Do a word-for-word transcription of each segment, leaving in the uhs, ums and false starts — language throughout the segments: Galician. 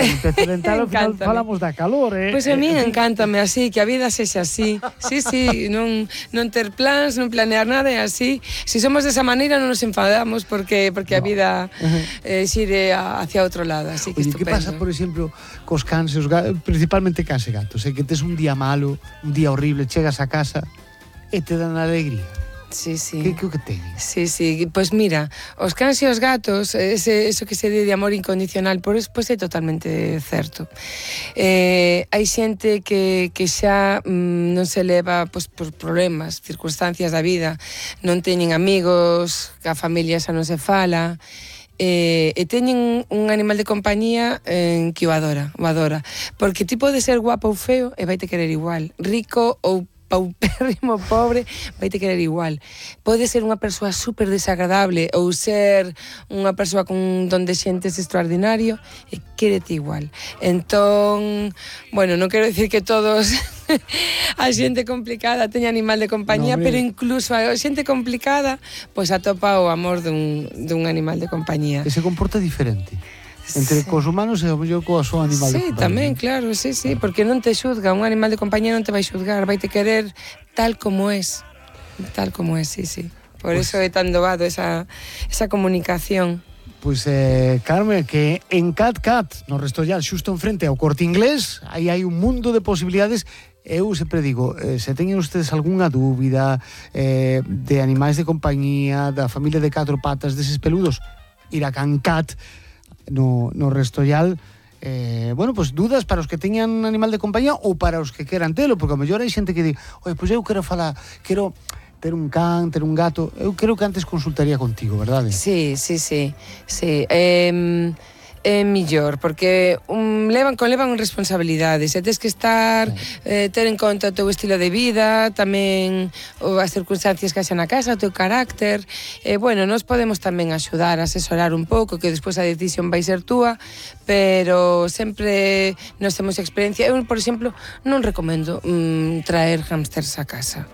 un pez dental, ao final falamos da calor, eh? Pois a mí encántame así, que a vida sexa así. Sí, sí, non, non ter plans, non planear nada, é así. Se somos desa maneira non nos enfadamos porque porque a vida eh, xire hacia outro lado, así que Oye, estupendo. que pasa, por exemplo, cos cans, os gatos, principalmente cans e gatos, é que tes un día malo, un día horrible, chegas a casa e te dan alegría? Sí, sí. Que, que o que teñen? Sí, sí, pois pues mira, os cans e os gatos, ese, eso que se di de amor incondicional, por eso, pois pues é totalmente certo. Eh, hai xente que, que xa mm, non se leva pois, por problemas, circunstancias da vida, non teñen amigos, que a familia xa non se fala, eh, e teñen un animal de compañía eh, que o adora, o adora, porque ti pode ser guapo ou feo e vai te querer igual, rico ou paupérrimo, pobre, vai te querer igual. Pode ser unha persoa super desagradable ou ser unha persoa con un don de xentes extraordinario e quérete igual. Entón, bueno, non quero decir que todos a xente complicada teña animal de compañía, no, pero incluso a xente complicada pois atopa o amor dun, dun animal de compañía. Que se comporta diferente entre sí. Cos humanos e o mellor coa súa animal sí, de compañía. Sí, tamén, claro, sí, sí, porque non te xuzga, un animal de compañía non te vai xuzgar, vai te querer tal como es, tal como es, sí, sí. Por pues, eso é tan doado esa, esa comunicación. Pois, pues, eh, Carme, que en Cat Cat, no Restollal, xusto enfrente ao Corte Inglés, aí hai un mundo de posibilidades. Eu sempre digo, eh, se teñen ustedes algunha dúbida eh, de animais de compañía, da familia de catro patas, deses peludos, ir a Can Cat, no, no Restollal, eh, bueno, pues dudas para os que teñan animal de compañía ou para os que queran telo, porque a mellor hai xente que di, oi, pois eu quero falar, quero ter un can, ter un gato, eu creo que antes consultaría contigo, verdade? Sí, sí, sí, sí, eh... é millor, porque um, levan, conlevan responsabilidades e tes que estar, eh, ter en conta o teu estilo de vida, tamén o, as circunstancias que haxa na casa, o teu carácter, e, bueno, nos podemos tamén axudar, asesorar un pouco, que despois a decisión vai ser túa, pero sempre nos temos experiencia. Eu, por exemplo, non recomendo mm, traer hámsters a casa,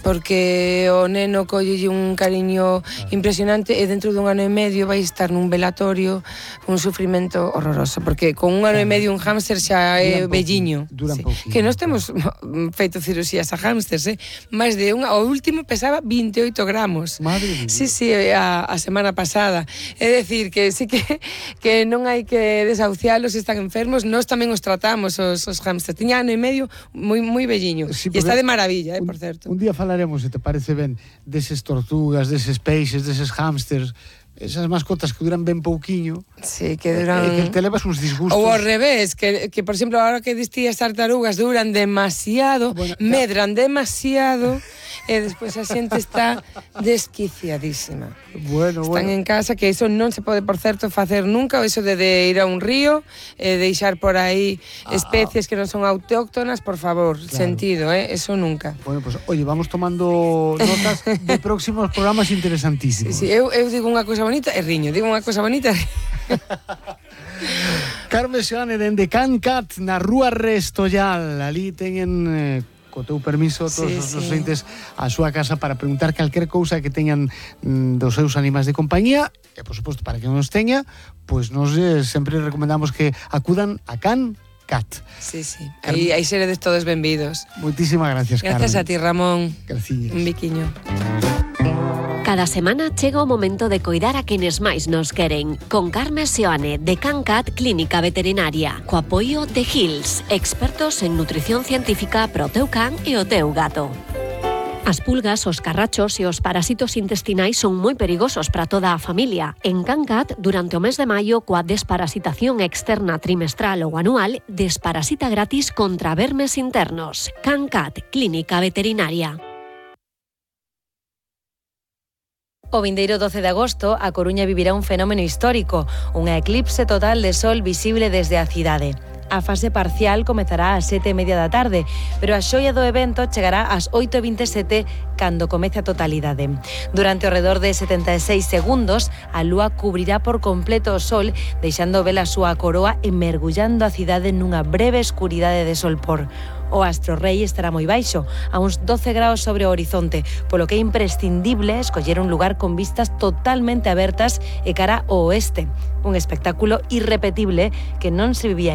porque o neno collelle un cariño impresionante e dentro dun ano e medio vai estar nun velatorio, un sufrimento horroroso, porque con un ano e medio un hámster xa é velliño. Sí. Que nós temos feito cirurxías a hámsters, eh? máis de unha, o último pesaba veintioito gramos. Madre sí, sí, a, a semana pasada. É decir, que sí que, que non hai que desahucialos se están enfermos, nós tamén os tratamos, os, os hámsters. Tiña ano e medio moi, moi velliño. Sí, e está de maravilla, eh, un, por certo. Un día falaremos, se te parece ben, deses tortugas, deses peixes, deses hámsters, esas mascotas que duran ben pouquiño. Sí, que duran... E que te levas uns disgustos. Ou ao revés, que, que por exemplo, ahora que distí as tartarugas duran demasiado, bueno, medran demasiado, e despois a xente está desquiciadísima. Bueno, Están bueno. en casa, que iso non se pode, por certo, facer nunca, o iso de, de ir a un río, e deixar por aí ah. especies que non son autóctonas, por favor, claro. Sentido, eh? Eso nunca. Bueno, pues, oye, vamos tomando notas de próximos programas interesantísimos. Sí, sí, eu, eu digo unha cousa bonita e riño, digo unha cousa bonita e riño. Carme Seoane, dende Can Cat, na Rúa Restollal, ali teñen... Eh, co teu permiso, todos sí, os sí. Ointes a súa casa para preguntar calquer cousa que teñan mm, dos seus animais de compañía e, por suposto, para que non os teña, pois nos eh, sempre recomendamos que acudan a Can Cat. Sí, sí, aí, aí seredes todos benvidos. Moitísimas gracias, Carmen. Gracias a ti, Ramón. Gracias. Un biquiño. Cada semana chega o momento de coidar a quenes máis nos queren. Con Carme Seoane, de Can Cat Clínica Veterinaria. Co apoio de Hills, expertos en nutrición científica pro teu can e o teu gato. As pulgas, os carrachos e os parasitos intestinais son moi perigosos para toda a familia. En Can Cat, durante o mes de maio, coa desparasitación externa trimestral ou anual, desparasita gratis contra vermes internos. Can Cat Clínica Veterinaria. O vindeiro doce de agosto, a Coruña vivirá un fenómeno histórico, unha eclipse total de sol visible desde a cidade. A fase parcial comezará ás sete e media da tarde, pero a xoia do evento chegará ás oito e vinte e sete cando comece a totalidade. Durante o redor de setenta e seis segundos, a lúa cubrirá por completo o sol, deixando ver a súa coroa e mergullando a cidade nunha breve escuridade de solpor. O astro rei estará moi baixo, a uns doce graus sobre o horizonte, polo que é imprescindible escoller un lugar con vistas totalmente abertas e cara ao oeste. Un espectáculo irrepetible que non se vivía